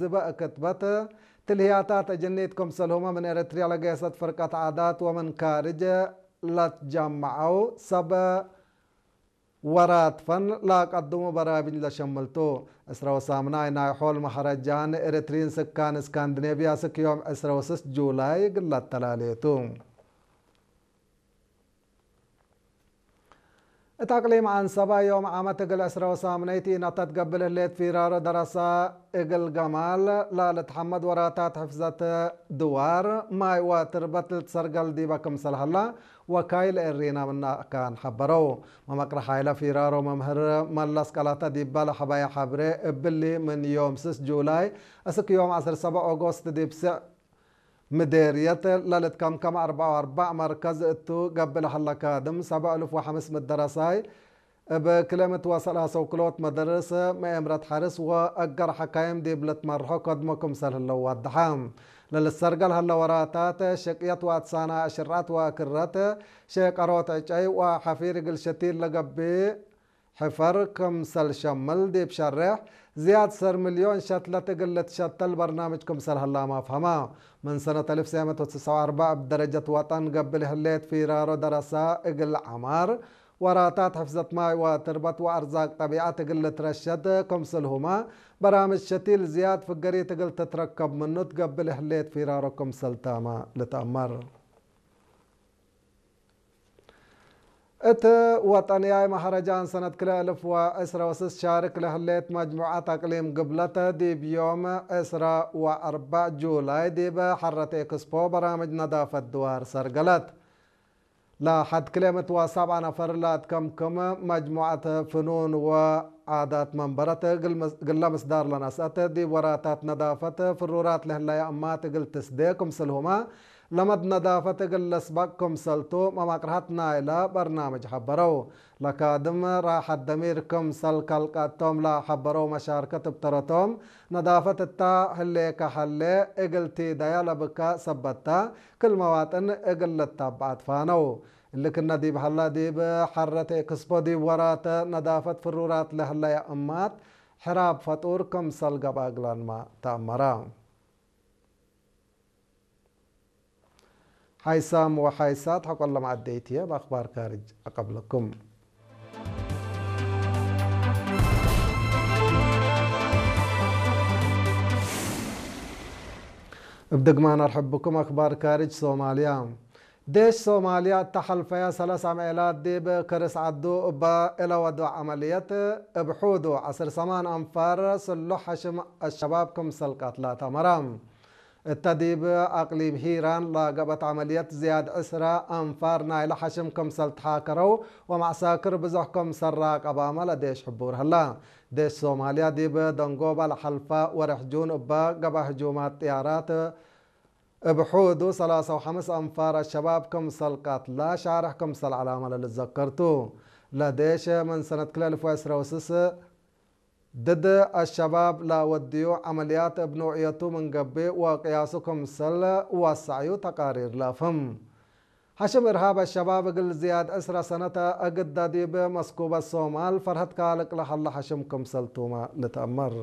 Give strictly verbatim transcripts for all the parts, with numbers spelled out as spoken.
ዝበእ ክትበት ትልህያታት እጅኒት ክምሰልሁመ ምን ኤረትርያ ለገሰት ፍርቀት ዓዳት ወምን ካርጅ ለትጀመዐው ሰብ ወራት ፈን ለአቀድሙ በራምጅ ለሸምል ቱ። ዕስረ ወሳምናይ ናይ ሖል መሀረጃን ኤረትርዪን ስካን እስካንዲኔቭያ ስክ ዮም ዕስረ ወስስ ጁላይ እግል ለአተላሌ ቱ። እት አቅሊም ዐንሰበ ዮም ዓመት እግል ዕስረ ወሳምነይት ኢነተት ገብእ ለህሌት ፊራሮ ደረሰ እግል ገማል ለልትሐመድ ወራታት ሕፍዘት ድዋር ማይ ወትርበት ልትሰርገል ዲበ ክምሰል ሀላ ወካይል ኤሪና ምን አካን ሐበረው። መመቅርሕ ሀይለ ፊራሮ መምህር መለስ ቀላተ ዲበ ለሐበየ ሐብሬ እብሊ ምን ዮም ስስ ጁላይ እስክ ዮም ዐስር ሰበዕ ኦጎስት ዲብ ስዕ ምዴርየት ለልትከምከም አርበዕ ወአርበዕ መርከዝ እቱ ገብእ ለሀለ ካድም ሰብዕ እልፍ ወሐምስ ምደረሳይ እብ ክልኤ ምእት ወሰላሰ ውክሎት መደርስ መኤምረት ሐርስ ወአገር ሐካይም ዲብ ልትመርሖ ከድሞ ክምሰል ህለው ወደሐ። ለልትሰርገል ሀለ ወራታት ሸቅየት ወአትሳና አሽርዐት ወአክረት ሼቀሮት ዕጨይ ወሐፊር እግል ሸቲል ለገብእ ሕፈር ክምሰል ሸምል ዲብ ሸሬሕ ዝያድ ሰር ሚልዮን ሸትለት እግል ልትሸተል በርናምጅ ክምሰል ሀላመ አፍሀመ። ምን ሰነት አልፍ ትስዕ ምእት ወትስዕ ወአርበዕ እብ ደረጀት ወጠን ገብእ ለህሌት ፊራሮ ደረሰ እግል ዐማር፣ ወራታት ሕፍዘት ማይ ወትርበት ወአርዛቅ ጠቢዐት እግል ልትረሸድ ክምስልሁመ በራምጅ ሸቲል ዝያድ ፍገሪት እግል ትትረከብ ምኑ ትገብእ ለህሌት ፊራሮ ክምሰል ተመ ልትአመር። እት ወጠንያይ መሀረጃን ሰነት ክልኤ እልፍ ወዕስረ ወስስ ሻርክ ለህሌት መጅሙዐት አቅሊም ግብለተ፣ ዲብ ዮም ዕስረ ወአርበዕ ጁላይ ዲብ ሐረት ኤክስፖ በራምጅ ነዳፈት ድዋር ሰርገለት። ለሐድ ክልኤ ምእት ወሰብዓ ነፈር ለአትከምክም መጅሙዐት ፍኑን ወዓዳት መንበረት እግል ምስ-፣ እግለ ምስዳር ለነስአት፣ ዲብ ወራታት ነዳፈት ፍሩራት ለህለየ እማት እግል ትስዴ ክምስልሁመ፣ ለመድ ነዳፈት እግል ለስበቅ ክምሰልቱ መማቅርሐት ናይለ በርናምጅ ሐበረው። ለካድም ራሐት ደሚር ክምሰል ከልቀቶም ለሐበረው መሻርከት እብ ተረቶም፣ ነዳፈት እታ ህሌከ ሀሌ እግል ቲደየ ለብከ ሰበት ተ፣ ክል መዋጥን እግል ልታበዕ አትፋነው። እሊ ክነ ዲብ ሀላ ዲብ ሐረት ኤክስፖ ዲብ ወራተ ነዳፈት ፍሩራት ለህለየ እማት ሕራብ ፈጡር ክምሰል ገብአ እግላንመ ተአመረ። ሓይሳም ወሓይሳት ሐቆለ መዐደይት ህዬ፣ እብ አክባር ካርጅ አቀብለኩም። እብ ድግማን አርሕብ ብኩም። አክባር ካርጅ ሶማልያ። ዴሽ ሶማልያ እተ ሐልፈየ ሰለስ አምዔላት ዲብ ከርስ ዐዱ እበ እለ ወዶ ዐመልየት፣ እብ ሑዱ ዐስር ሰማን አንፋር ስሉሕ ሐሽም አሸባብ ክምሰል ቀትለ ተአመረ። እተ ዲብ አቅሊም ሂራን ለገብአት ዐመልየት ዝያድ ዕስረ አንፋር ናይለ ሐሽም ክምሰል ተሓከረው ወመዕሳክር ብዞሕ ክምሰል ራቀባመ ለዴሽ ሕቡር ሀላ። ዴሽ ሶማልያ ዲብ ደንጎበ ለሐልፈ ወርሕ ጁን እበ ገብአ ህጁማት ጥያራት እብ ሑዱ ሰላሳ ወሐምስ አንፋር አሸባብ ክምሰል ቀትለ ሻርሕ ክምሰል ዐላመ ለልትዘከር ቱ። ለዴሽ ምን ሰነት ክልኤ እልፍ ወዕስረ ወስስ ድድ አሸባብ ለወድዩ ዐመልያት እብ ኖዕየቱ ምን ገብእ ወቅያሱ ክምሰል ወሰዐዩ ተቃሪር ለአፍህም። ሐሽም እርሃብ አሸባብ እግል ዝያድ ዕስረ ሰነት አግደ ዲብ መስኩበት ሶማል ፈርሀት ካልቅ ለሀለ ሐሽም ክምሰል ቱመ ልትአመር።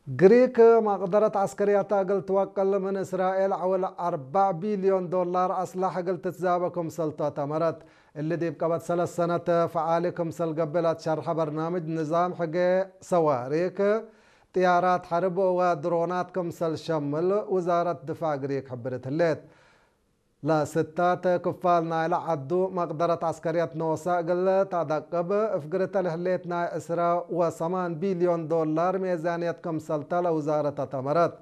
ግሪክ መቅደረት ዐስከርያተ እግል ትወቅል ምን እስራኤል ዐውል አርበዕ ቢልዮን ዶላር አስላሕ እግል ትትዛበ ክምሰልቱ አተመረት። እሊ ዲብ ቀበት ሰለስ ሰነት ፈዓሊ ክምሰል ገብእ ለትሸርሐ በርናምጅ ንዛም ሕጌ ሰዋሪክ፣ ጥያራት ሐርብ ወድሮናት ክምሰል ሸምል ውዛረት ድፋዕ ግሪክ ሕብርት ህሌት። ለስታት ክፋል ናይለ ዐዱ መቅደረት ዐስከርየት ኖሰ እግል ተአደቅብ እፍግርተ ለህሌት ናይ ዕስረ ወሰማን ቢልዮን ዶላር ሜዛንየት ክምሰልተ ለውዛረት አተመረት።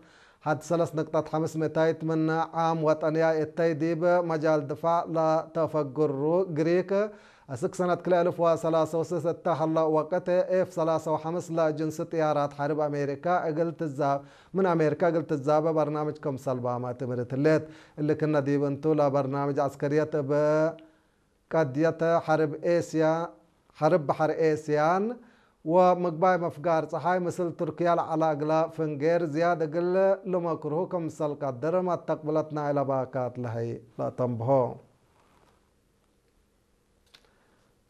ሐድ ሰለስ ንቅጠት ሐምስ ምእታይት ምን ዓም ወጠንያይ እተይ ዲብ መጃል ድፋዕ ለተፈግሩ ግሪክ፣ አስክ ሰነት ክልኤ እልፍ ወሰላሰ ወስስ እተ ሀለ ወቅት ኤፍ ሰላሰ ወሐምስ ለጅንስ ጥያራት ሐርብ አሜሪካ እግል ትዛ-፣ ምን አሜሪካ እግል ትዛበ በርናምጅ ክምሰል ባመ ትምህርት ህሌት። እሊ ክነ ዲብ እንቱ፣ ለበርናምጅ ዐስከርየት እብ ቀድየት ሐርብ ኤስያ፣ ሐርብ በሐር ኤስያን ወምግባይ መፍጋር ጸሓይ ምስል ቱርክያ ለዐለ እግለ ፍንጌር ዝያድ እግል ልመክርሁ ክምሰል ቀድር መተቅብለት ናይለ ባካት ለሀይ ለአተንብሆ።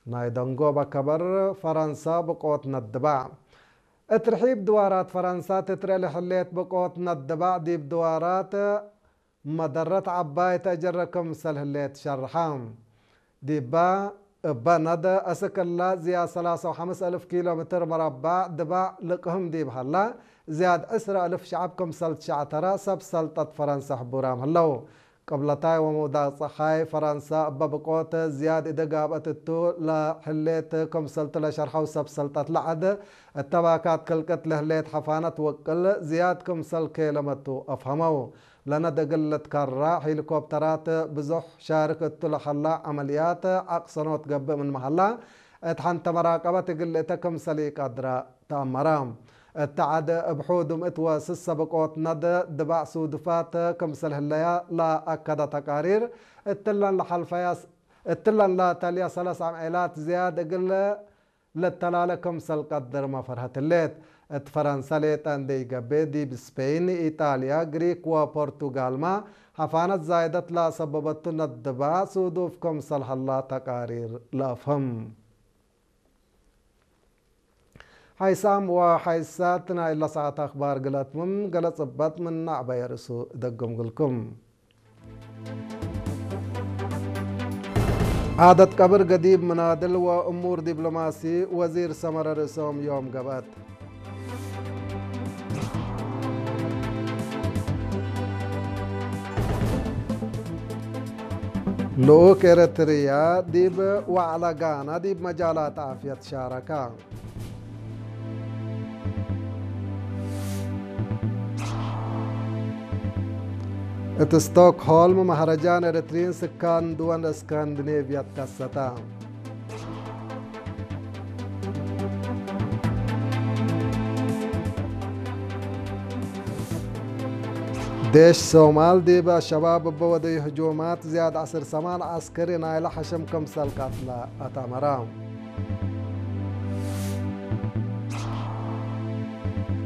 ናይ ደንጎበ ከበር ፈረንሰ ብቆት ነድባዕ። እት ርሒብ ድዋራት ፈረንሰ ትትርኤ ለህሌት ብቆት ነድባዕ ዲብ ድዋራት መደረት ዐባይ ተአጀረ ክምሰል ህሌት ሸርሐ። ዲበ እበ ነደ አስክ እለ ዝያድ ሰላሳ ወሐምስ አልፍ ኪሎ ሜትር መረባዕ ድባዕ ልቅህም ዲብ ሀላ፣ ዝያድ ዕስረ አልፍ ሸዐብ ክምሰል ትሸዕተረ ሰብ ሰልጠት ፈረንሰ ሕቡራም ህለው። ቅብለታይ ወመውዳቅ ጸሓይ ፈረንሰ እበ ብቆት ዝያድ እደ ጋብአት እቱ ለህሌት ክምሰልቱ ለሸርሐው ሰብ ሰልጠት ለዐድ እተባካት ክልቅት ለህሌት ሐፋነት ወቅል ዝያድ ክምሰል ኬለመቱ አፍሀመው። ለነድ እግል ልትከራ ሄሊኮፕተራት ብዙሕ ሻርክ እቱ ለሀላ ዐመልያት አቅሰኖት ገብእ ምንመ ሀላ፣ እት ሐንተ መራቀበት እግል ልእተ ክምሰል ኢቀድረ ተአመረ። እት ዐድ እብ ሑዱም እት ወስሰ ብቆት ነድ ድባዕ ሱዱፋት ክምሰል ህለያ ለአከደ ተቃሪር፣ እትለን ለሐልፈያ፣ እትለን ለተልየ ሰለስ አምዔላት ዝያድ እግል ልተላለ ክምሰል ቀድርመ ፈርሀት ህሌት። እት ፈረንሰ ሌጠ እንዴ ኢገብእ፣ ዲብ ስፔን፣ ኢጣልያ፣ ግሪክ ወፖርቱጋልመ ሐፋነት ዛይደት ለአሰበበቱ ነድባዕ ሱዱፍ ክምሰል ሀላ ተቃሪር ለአፍህም። ሐይሳም ወሐይሳት ናይ እለ ሰዓት አክባር ግለት ምን ገለ ጽበጥ ምን ነዕበየ ርእሱ እደግም ግልኩም። ዓደት ቀብር ገዲብ ምናድል ወእሙር ዲብሎማሲ ወዚር ሰመረ ርእሶም ዮም ገብአት። ልኡክ ኤረትርያ ዲብ ወዕለ ጋና ዲብ መጃላት ዓፍየት ሻረከ። እት ስቶክሆልም መህረጃን ኤረትርዪን ስካን ድወል እስካንዲኔቭያ ትከሰተ። ዴሽ ሶማል ዲብ አሸባብ እበ ወደዩ ህጁማት ዝያድ ዐስር ሰማን ዐስከሪ ናይለ ሐሸም ክምሰል ቀትለ አተመረ።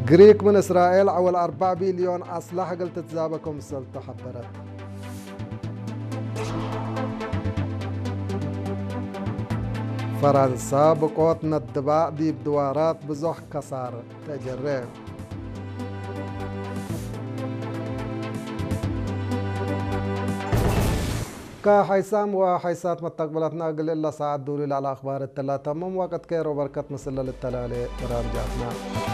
ግሪክ ምን እስራኤል ዐወል አርበዕ ቢልዮን አስላሕ እግል ትትዛበ ክምሰልቱ ሐበረት። ፈረንሰ ብቆት ነድባዕ ዲብ ድዋራት ብዞሕ ከሳር ተጀሬ። ከሐይሳም ወሐይሳት መተቅብለትና እግል እለ ሳዐት ዱሊ ለዐለ አክባር እትላ ተምም ወቅት ኬር ወበርከት ምስል ለልተላሌ በራምጃትና።